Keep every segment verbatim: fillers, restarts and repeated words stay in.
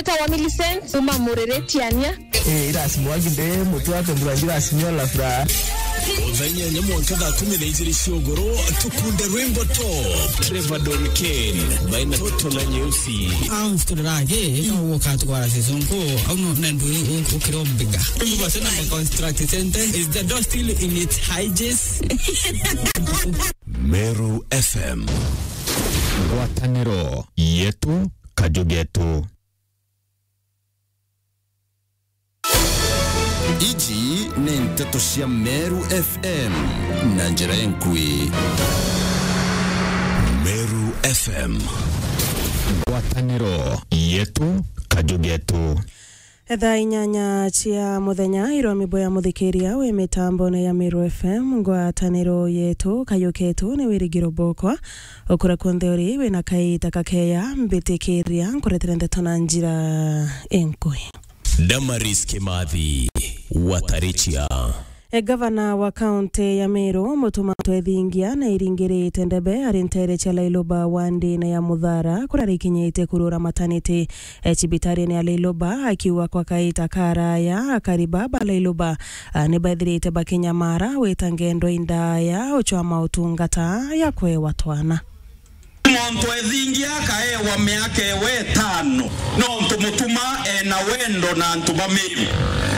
Etawa Millicent, kuma Murere Tiania. Eh, irasi mwagi nde, mutu wake mbura njira asimio la furaha. Thaa inyanya mwanka thaa kumi na ijiri cia ugoro, tukunde rwimbo top. Trevor Don Kane, baina toto na nyeusi. Au, siturage, au, ukatwara season ko, au, no, na ndu, u-, ukirombiga. Ndu base na construct center, is the door still in its hinges? Meru F M. Ngwataniro yetu, kaju getu. Iji ni nteto cia Meru F M na njira enkui. Meru F M. Ngwataniro yetu, kaju getu. Thaa inyanya cia muthenya, irwa mibo ya muthikiria wi mitambone ya Meru F M, ngwataniro yetu, kayu ketu ni wirigiro bokwa. Ukura kunthe uri, wina kaita kakeya, mbitikiria, nkuretere ndeto na njira enkui. Damaris Kimathi, Watarichia. E, gavana wa kaunti ya Meru, Mutuma Ntwethingia, na iringirite ndebe ari ntere cia Lailuba wandine ya Muthara, kuria arikinyite kurura mataniti, e, cibitarine ya Lailuba, akiuga kwa kaita karaya, akari ba ba Lailuba, a, ni baithirite bakinyamara wita ngendo indaya uchwa mautungata ya kwewa twana. Muntu ethingia akaewa miaka ewe itano, nontu Mutuma ena wendo na antu ba Meru.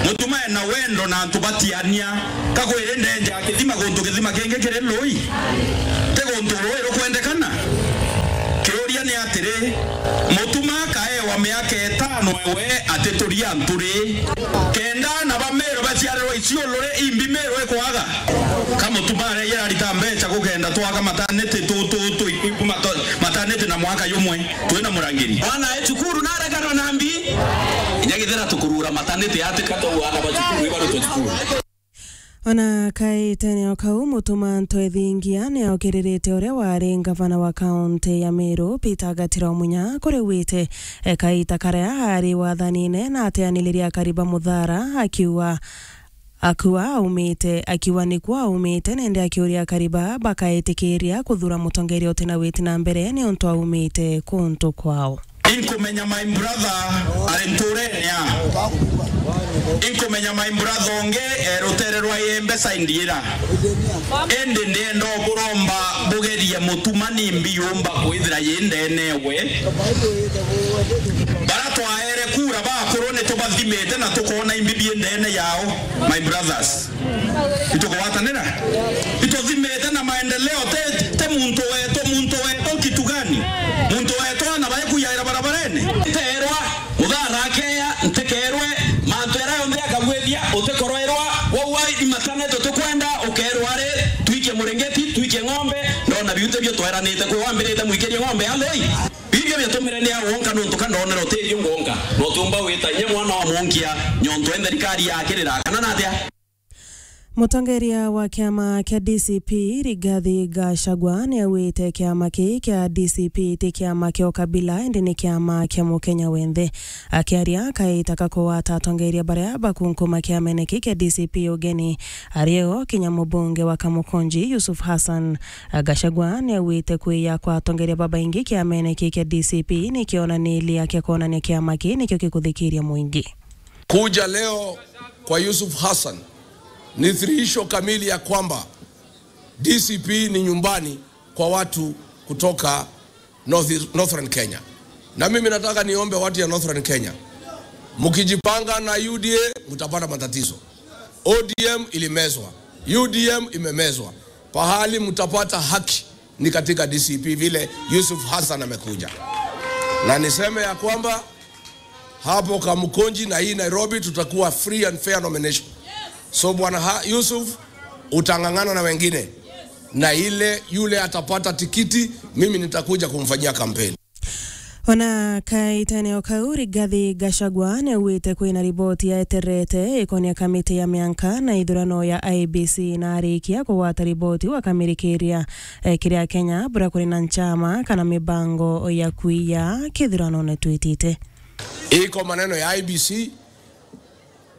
Mutuma ena wendo na antu ba Tiania. Kakwiri ndenja akithima guntu kithima kingi kiri lui. Ti guntu rui rukwendekana. Kiuria ni atiri, Mutuma akaewa miaka itano ewe atituria antu ri? Kenda ana ba Meru baciarirwa Isiolo ri, imbi Meru ikwaga? Ka Mutuma areire arita mbeca gukenda twaka mataniti tu, tu, tu, iku, iku, mato-, mataniti na mwaka jumwe, twina murangiri. Mwana e cukuru nareganwa na mbi, inya githira tukurura mataniti atika tu ana ba cukuru, ibarutwe cukuru. Ona kaitene o kau, Mutuma Ntwethingia ni aokiririte uria wari ngavana wa kaunti ya Meru, Peter Gatira Omunya, kuri wite, e, kaita karia ari wathanine na ateaniriria akari ba Muthara, akiuga Akua aumite, akiuga nikuo aumite, nende akiuria akari ba bakaitikiria kuthura mutongeria utina witi na mbere niuntu aumite kuntu kwao. Inkumenya my brother ari nturene ya. Inkumenya my brother ungi e rutere rwa Iembe side ira. Indi ndienda uburomba bugerie Mutuma ni mbi yumba kwithira yi ndene we. Bara twaere kura bakuru ni tubathimite na tukona imbi bi ndene yao. My brothers, itugwatanira, ituthimite na maendeleo, te, te muntu wetu, muntu wetu kitu gani? Muntu wetu ana bae kuyaira barabarene? Nteerwa Muthara akeya, ntikeerwe, mantu jaria jonthe akagwithia, utikoroerwa, wauga imatane tutikwenda, ukeerwa ri, twikie muringiti, twikie ng'ombe, ndona biu tibio tweranite kwi wambirite mwikirie ng'ombe aloi. Bibio biatumire ni au wonka, nontu ka ndonera utithio ngwonka, na utiumba wita inya mwana wa munkia, nyontu e nthirikari yakirira, kana natia? Mutongeria wa kiama kia D C P, Rigathi Gachagua, ni augite kiama kii kia D C P ti kiama kia ukabila, indi ni kiama kia Mukenya wenthe. Akiaria kaita ka kugwata atongeria baria bakunkuma kiamene kii kia D C P ugeni, ari o kinya mubunge wa Kamukunji, Yusuf Hassan, Gachagua ni augite kwiya kwa atongeria babaingi kiamene kii kia D C P ni kionaniria kia kwonania kiama kii nikio gikuthikiria muingi. Kuja leo kwa Yusuf Hassan ni thihirisho kamili ya kwamba D C P ni nyumbani kwa watu kutoka North, Northern Kenya. Na mimi nataka niombe watu ya Northern Kenya, mkijipanga na U D A, mtapata matatizo. O D M ilimezwa, U D M imemezwa. Pahali mtapata haki ni katika D C P, vile Yusuf Hassan amekuja. Na niseme ya kwamba hapo Kamukunji na hii Nairobi tutakuwa free and fair nomination. So Bwana Ha-, Yusuf, utang'ang'ana na wengine. Na ile yule atapata tikiti, mimi nitakuja kumfanyia kampeni. Ona kaitene o kau, Rigathi Gachagua ni augite kwina riboti yaetererete ikonia kamiti ya mianka na ithurano ya I E B C, na arikia kugwata riboti wakamirikiria, eh, kiri Akenya bura kuri na nchama kana mibango ya kwiya kithuranone twitite. Iko maneno ya I E B C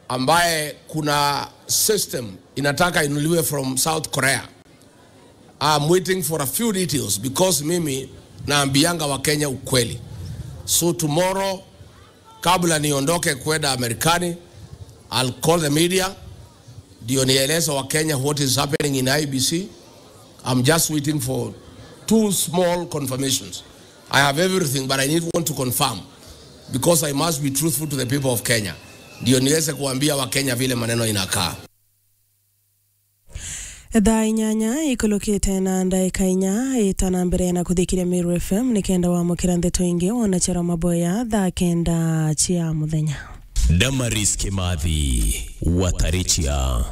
ambaye kuna system inataka inuliwe from South Korea. I'm waiting for a few details because mimi naambianga Wakenya ukweli. So tomorrow Kabla niondoke kwenda Amerikani, I'll call the media ndio nieleze wa Kenya what is happening in I B C. I'm just waiting for two small confirmations. I have everything, but I need one to confirm because I must be truthful to the people of Kenya, ndio niweze kuambia wa Kenya vile maneno inakaa. Thaa inyanya ikulukite na ndaika inya, ita na mbere na kuthikiria Meru F M nikenda wamukira ndeto ingi wona Chero Maboya thaa kenda cia muthenya. Damaris Kimathi, Watarichia.